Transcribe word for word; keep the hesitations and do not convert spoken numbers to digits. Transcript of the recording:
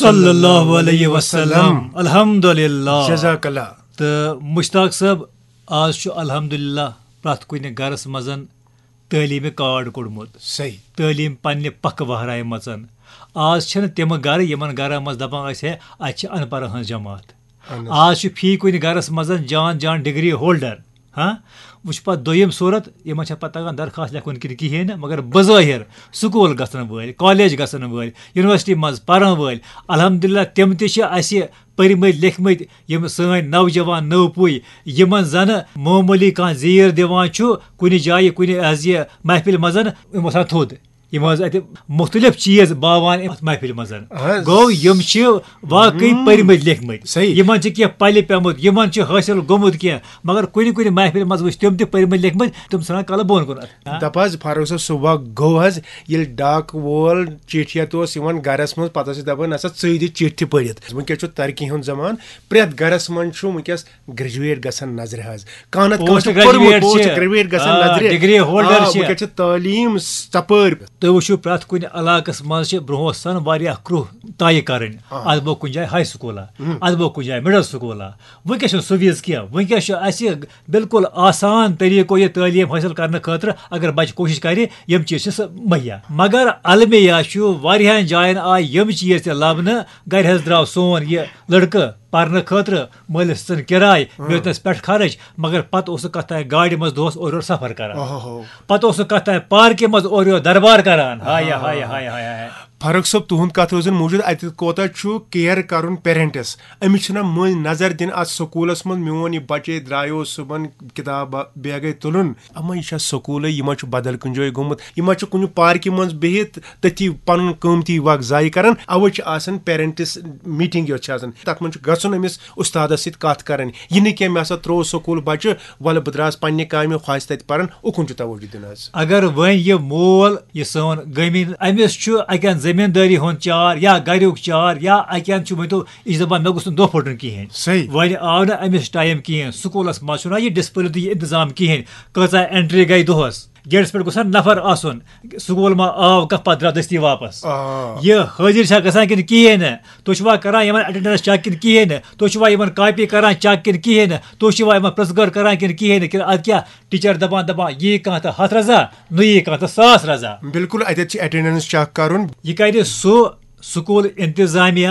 صلی اللہ علیہ وسلم۔ الحمدللہ۔ جزاک اللہ۔ تہٕ مشتاق صٲب، آز چھُ الحمدللہ پرٛٮ۪تھ کُنہِ گرس منٛز تعلیٖمِ کارڈ کوٚڑمُت۔ صحیح۔ تعلیٖم پننہِ پکہٕ وہرایہِ مژن۔ آز چھِنہٕ تِم گرٕ یِمن گرن منٛز دپان ٲسۍ ہے، اتہِ چھِ ان پڑھن ہٕنٛز جماعت۔ اہن حظ۔ آز چھُ فی کُنہِ گرس منٛز جان جان ڈگری ہولڈر۔ ہاں، وۄنۍ چھُ پتہٕ دوٚیِم صوٗرت، یِمن چھےٚ پتہٕ تگان درخاست لیکھُن کِنہٕ کِہیٖنۍ نہٕ، مگر بظٲہر سکوٗل گژھن وٲلۍ، کالج گژھن وٲلۍ، یونیورسٹی منٛز پرن وٲلۍ، الحمدللہ تِم تہِ چھِ اسہِ پٔرمٕتۍ لیکھمٕتۍ، یِم سٲنۍ نوجوان نٔو پُے، یِمن زنہٕ معموٗلی کانٛہہ زیٖر دِوان چھُ کُنہِ جایہِ، کُنہِ حظ یہِ محفِلہِ منٛز، یِم وۄتھان تھوٚد۔ یِم حظ اتہِ مختلف چیٖز باوان اتھ محفِلہِ منٛز۔ اہن حظ۔ گوٚو، یِم چھِ واقعی ہم۔ پٔرمٕتۍ لیکھمٕتۍ۔ صحیح۔ یِمن چھِ کینٛہہ پلہِ پیوٚمُت، یِمن چھُ حٲصِل گوٚمُت کینٛہہ، مگر کُنہِ کُنہِ محفِلہِ منٛز وٕچھ تِم تہِ پٔرمٕتۍ لیکھمٕتۍ، تِم ژھٕنان کلہٕ بۄن کُن۔ ہاں۔ دپ حظ، فاروق صٲب، صبح گوٚو حظ، ییٚلہِ ڈاک وول چِٹھِ ہٮ۪تھ اوس یِوان گرس منٛز، پتہٕ ٲسۍ دپان، "نسا، ژٕے دِ چِٹھِ پٔرِتھ۔" وٕنکیٚس چھُ ترقی ہُنٛد زمانہٕ، پرٛٮ۪تھ گرس منٛز چھُ وٕنکیٚس گریجویٹ گژھان نظرِ حظ۔ کانٛہہ نتہٕ کانٛہہ چھُ پوسٹ پوٚرمُت، گریجویٹ پوسٹ چھِ۔ گریجویٹ گژھان آ، نظرِ۔ ڈگری ہولڈر آ، چھِ۔ وٕنکیٚس چھِ تعلیٖم ژپٲرۍ۔ تُہۍ وٕچھِو، پرٛٮ۪تھ کُنہِ علاقس منٛز چھِ برونٛہہ اوس آسان واریاہ کرٛوہ طے کرٕنۍ۔ آ۔ اتھ گوٚو کُنہِ جایہِ ہاے سکوٗلا، ہم۔ اتھ گوٚو کُنہِ جایہِ مڈل سکوٗلا۔ وٕنکیٚس چھُنہٕ سُہ وِز کینٛہہ۔ وٕنکیٚس چھُ اسہِ بالکل آسان طریٖقو یہِ تعلیٖم حٲصِل کرنہٕ خٲطرٕ، اگر بچہِ کوٗشِش کرِ، یِم چیٖز چھِ سُہ مہیا۔ مگر المیہ چھُ، واریاہن جاین آیہِ یِم چیٖز تہِ لبنہٕ۔ گرِ حظ درٛاو سون یہِ لڑکہٕ پرنہٕ خٲطرٕ، مٲلِس ژھٕن کِراے، ہاں۔ مےٚ دیُتنَس پٮ۪ٹھ خرٕچ، مگر پتہٕ اوس سُہ کتھ تام گاڑِ منٛز دۄہس اورٕ یورٕ سفر کران۔ اوہو۔ پتہٕ اوس سُہ کتھ تام پارکہِ منٛز اورٕ یورٕ دربار کران۔ ہاے ہاے ہاے ہاے ہاے۔ فرق صٲب، تُہُنٛد کتھ روزن موٗجوٗد، اتہِ کوتاہ چھُ کیئر کرُن پیرنٹس؟ أمِس چھِنہ مٔنٛزۍ نظر دِنۍ اتھ سکوٗلس منٛز، میون یہِ بچے درٛایو صُبحن کتاب بیگے تُلُن، اما یہِ چھا سکوٗلے، یہِ ما چھُ بدل کُنہِ جایہِ گوٚمُت، یہِ ما چھُ کُنہِ پارکہِ منٛز بِہِتھ تٔتھی پنُن قۭمتی وقت ضایع کران۔ اوے چھِ آسان پیرنٹس میٹنگ یۄس چھِ آسان، تتھ منٛز چھُ گژھُن أمِس استادس سۭتۍ کتھ کرٕنۍ۔ یہِ نہٕ کینٛہہ، مےٚ ہسا ترٛوو سکوٗل بچہِ، ولہٕ بہٕ درٛاس پننہِ کامہِ، خۄش تتہِ پران، اُکُن چھُ توجہ دیُن حظ۔ اگر وۄنۍ یہِ مول، یہِ سون گٔمِن، أمِس چھُ اکہِ اندٕ زٔمیٖندٲری ہُنٛد چار یا گریُک چار یا اکہِ اندٕ چھُ، ؤنۍ تو، یہِ چھِ دپان، مےٚ گوٚژھ نہٕ دۄہ پھوٚٹُن کِہیٖنۍ۔ صحیح۔ وۄنۍ آو نہٕ أمِس ٹایم کِہیٖنۍ، سکوٗلس منٛز چھُنہ یہِ ڈسپلن تہٕ یہِ انتظام کِہیٖنۍ۔ کۭژاہ انٹری گٔے دۄہس؟ گیٹس پٮ۪ٹھ گوٚژھ ہا نفر آسُن، سکوٗل ما آو کانٛہہ، پتہٕ درٛاو دٔستی واپس۔ آ۔ یہِ حٲضِر چھا گژھان کِنہٕ کِہیٖنۍ نہٕ؟ تُہۍ چھِوا کران یِمن اٹینڈنس چیک کِنہٕ کِہیٖنۍ نہٕ؟ تُہۍ چھِوا یِمن کاپی کران چیک کِنہٕ کِہیٖنۍ نہٕ؟ تُہۍ چھِوا یِمن پرٛژھ گٲر کران کِنہٕ کِہیٖنۍ نہٕ؟ کِنہٕ ادٕ کیٛاہ ٹیٖچر دپان، دپان، یی کانٛہہ تہٕ ہتھ رضا، نہٕ یی کانٛہہ تہٕ ساس رضا؟ بالکل، اتٮ۪تھ چھِ اٹینڈنس چیک کرُن۔ یہِ کرِ سُہ سکوٗل انتظامیہ،